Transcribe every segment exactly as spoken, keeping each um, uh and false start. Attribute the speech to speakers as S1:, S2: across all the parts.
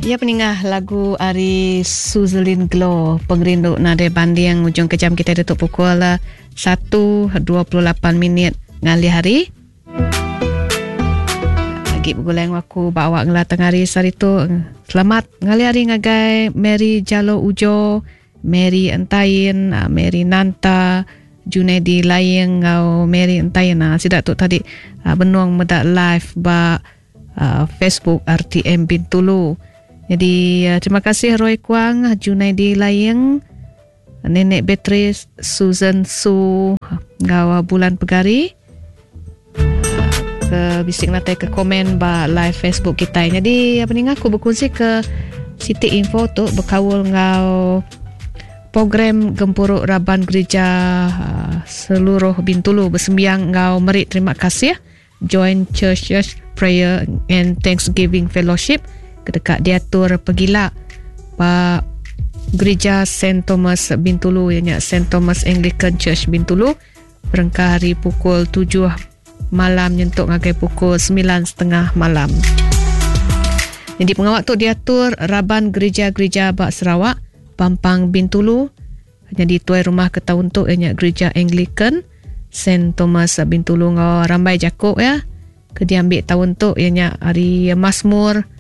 S1: Ya peningah lagu ari Suzelin Glow Pengerindu Nadai Banding. Ujung kejam kita tutup pukul satu dua puluh lapan minit ngalih hari. Lagi bergulai aku bawa ngelatang hari sehari tu. Selamat ngalih hari ngagai Mary Jalo Ujo, Mary Entain, Mary Nanta, Junedi Layeng ngau Mary Entain. Sidak tu tadi benung medak live ba Facebook R T M Bintulu. Jadi terima kasih Roy Kuang, Junaidi Layeng, Nenek Beatrice, Susan Su, ngau Bulan Pegari ke bisik natai ke komen ba live Facebook kita. Jadi apa ni aku berkongsi ke Siti Info tu berkaul ngau program Gempuruk Raban Gereja seluruh Bintulu bersembiang ngau merik terima kasih Join Church Church Prayer and Thanksgiving Fellowship kedekat diatur pegila ba Gereja Saint Thomas Bintulu, ianya Saint Thomas Anglican Church Bintulu, berengkah hari pukul tujuh malam nyentuk ngagai pukul sembilan setengah malam. Jadi pengawak tu diatur Raban Gereja-Gereja bak Sarawak, Pampang Bintulu. Jadi tuai rumah ke tahun tu ianya Gereja Anglican Saint Thomas Bintulu ngau Rambai Jakuk ya. Ke diambil tahun tu ianya hari Mazmur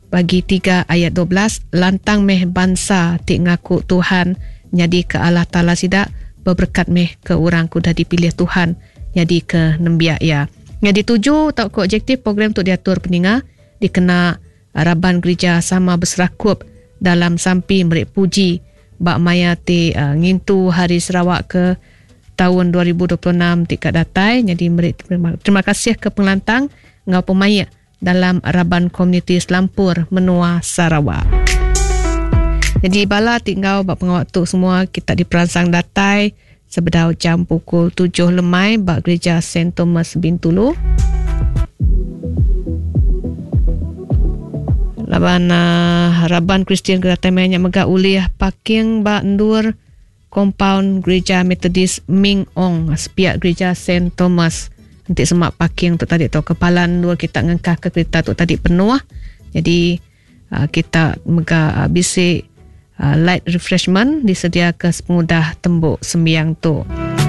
S1: bagi tiga ayat dua belas, lantang meh bangsa ti ngaku Tuhan nyadi ke Allah Taala sidak, berberkat meh ke orang ku dah dipilih Tuhan nyadi ke nembiak ya. Nyadi tuju tau ke objektif program tu diatur peninga dikena raban gereja sama berserakup dalam sampi merik puji bak maya ti uh, ngintu Hari Sarawak ke tahun dua ribu dua puluh enam ti kat datai. Jadi merik terima, terima kasih ke pengelantang ngau pemaik dalam raban komuniti Selampur menua Sarawak. Jadi bala tinggal bak pengawak tu semua kita diperangsang datai sebedau jam pukul tujuh lemai bak Gereja Saint Thomas Bintulu. Laban uh, raban Kristian ke datai mainnya megak ulih parking bak endur compound Gereja Methodist Ming Ong sepiak Gereja Saint Thomas. Nanti semak parking tu tadi tu kepalan dua kita ngengkah ke kereta tu tadi penuh. Jadi uh, kita mega uh, bisi uh, light refreshment disediakan sepengudah tembuk sembiang tu.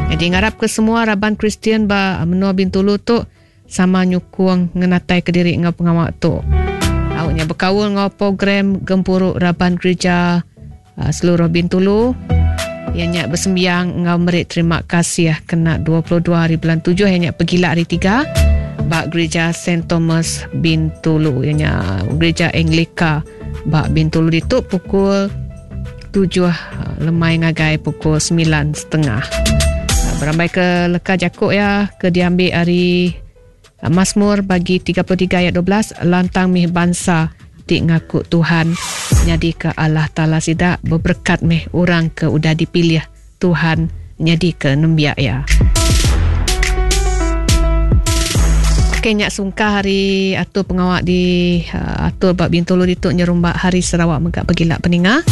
S1: Jadi ngarap ke semua raban Kristian ba menua Bintulu tu sama nyukung ngenatai ke diri ngau pengawak tu. Awaknya berkaul ngau program Gempuruk Raban Gereja uh, seluruh Bintulu. Ianya bersembiang ngau merik terima kasih kena dua puluh dua hari bulan tujuh ianya pergila hari tiga bak Gereja Saint Thomas Bintulu, ianya Gereja Anglika bak Bintulu itu pukul tujuh lemai ngagai pukul sembilan setengah. Berambai ke leka jakuk ya ke diambil hari Mazmur bagi tiga puluh tiga ayat dua belas, lantang mih bangsa ti ngaku Tuhan nyadi ke Allah Taala sidak, berberkat meh orang ke udah dipilih Tuhan nyadi ke nembiak ya. Okey nyak sungkah hari atur pengawak di uh, atur bab Bintulu dituk nyerumbak Hari Sarawak megak pegilak peninga.